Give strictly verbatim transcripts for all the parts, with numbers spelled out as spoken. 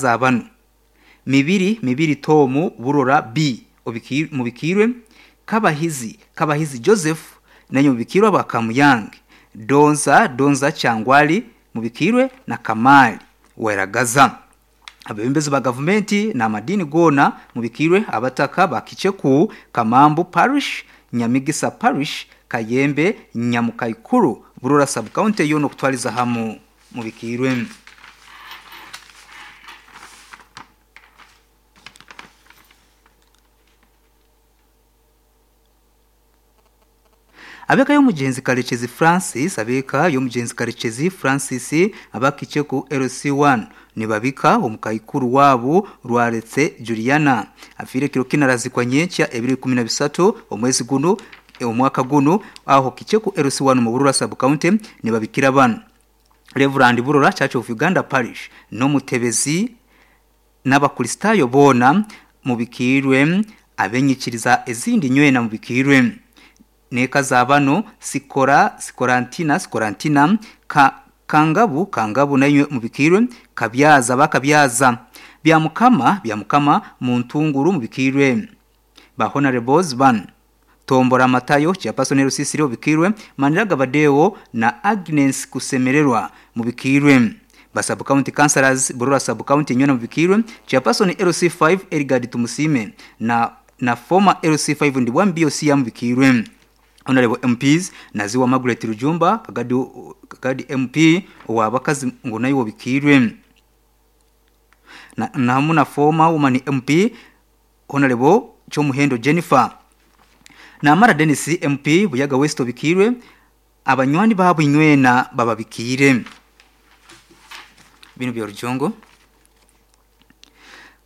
Zabanu mibiri mibiri tomu Burora B obiki, mubikirwe Kabahizi Kabahizi Joseph nanyo mubikirwe Bakamuyange Donza Donza Changwali mubikirwe na Kamali Weragaza. Abebembezi ba gavumenti na amadini gona mubikirwe abataka bakicheku Kamambu Parish, Nyamigisa Parish, Kayembe, Nyamukaikuru, Burora Sub County yono kutwaliza hamu mubikirwe. Abeka y'omugenzi Karekezi Francis, abeka y'omugenzi Karekezi Francis abakicheku L C one nibabika omukaikuru wabo Rwaretse Juliana afire kiro kinarazikwa nyenkya ebiri kumi na bisatu omwezi guno omwaka guno aho kicheku L C one mu Burora Sub County nibabikira bano Reverend Burora Church of Uganda Parish n'omutebezi n'abakristayo bona mubikirwe abenyikiriza ezindi nywena mubikirwe neka zabano sikora sikorantina sikorantina ka kangabu kangabu nayo mubikirwe kabyaza bakabyaza bya mukama bya mukama mu ntunguru mubikirwe ba honorables ban Tombora Matayo chairperson Rusisiro bikirwe Maniraga Badeo na Agnes Kusemererwa mubikirwe ba sub county councillors Burora sub county nyona mubikirwe chairperson L C five Erigadi Tumusime na na former L C five Ndibwa B O C ya mubikirwe Honorable M Ps Naziwa Margaret Rujumba Kagadi Kagadi M P wabakazi ngo nayo bikirwe na na former woman M P Honorable Chomuhendo Jennifer na Mara Dennis M P Buyaga West bikirwe abanywani babo inywena bababikire bino bya Rujongo.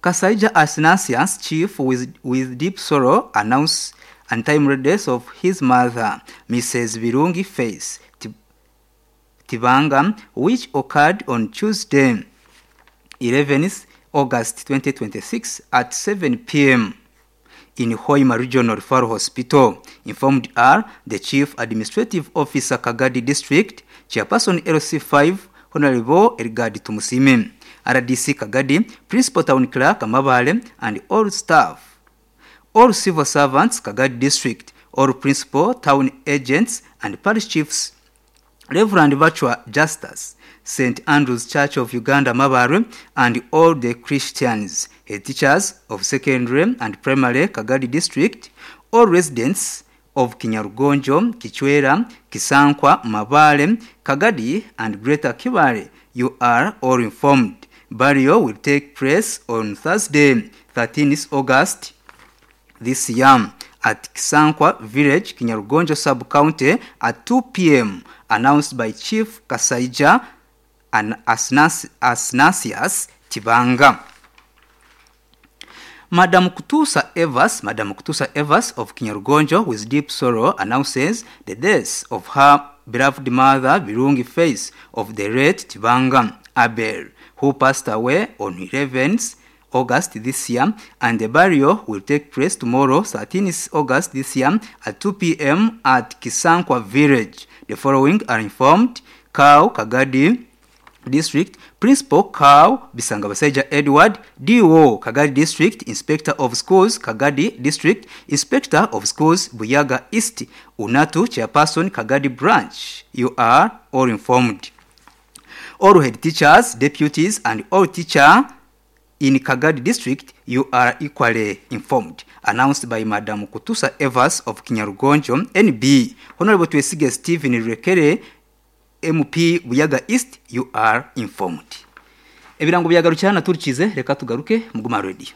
Kasaija Asnasius chief with with deep sorrow announce untimely death of his mother, Missus Birungi Face Tibanga, which occurred on Tuesday, eleventh August twenty twenty-six at seven p m in Hoima Regional Referral Hospital. Informed are the Chief Administrative Officer Kagadi District, Chairperson L C five, Honorable Erigadi Tumusime, R D C Kagadi, Principal Town Clerk Mabale, and all staff. All civil servants, Kagadi District, all principal, town agents, and parish chiefs, Reverend Virtua Justus, Saint Andrew's Church of Uganda, Mabare, and all the Christians, head teachers of secondary and primary Kagadi District, all residents of Kinyarugonjo, Kichwera, Kisankwa, Mabale, Kagadi, and Greater Kibale, you are all informed. Burial will take place on Thursday, thirteenth August this year at Kisankwa Village, Kinyarugonjo Sub-County at two p m, announced by Chief Kasaija and Asnas Asnasius Tibanga. Madam Kutusa Evas, Madam Kutusa Evas of Kinyarugonjo with deep sorrow announces the death of her beloved mother Birungi Face of the late Tibanga Abel, who passed away on eleventh August this year, and the burial will take place tomorrow, thirteenth August this year at two p m at Kisankwa Village. The following are informed: Cow Kagadi District, Principal Cow Bisangabasaija Edward, D O Kagadi District, Inspector of Schools Kagadi District, Inspector of Schools Buyaga East, Unatu Chairperson Kagadi Branch. You are all informed. All head teachers, deputies, and all teacher in Kagadi District, you are equally informed. Announced by Madam Kutusa Evas of Kinyarugonjo, N B. Honorable Twesige Stephen Rekere, M P Buyaga East, you are informed. Ebirango byagarucyana turikize, reka tugaruke muguma radio.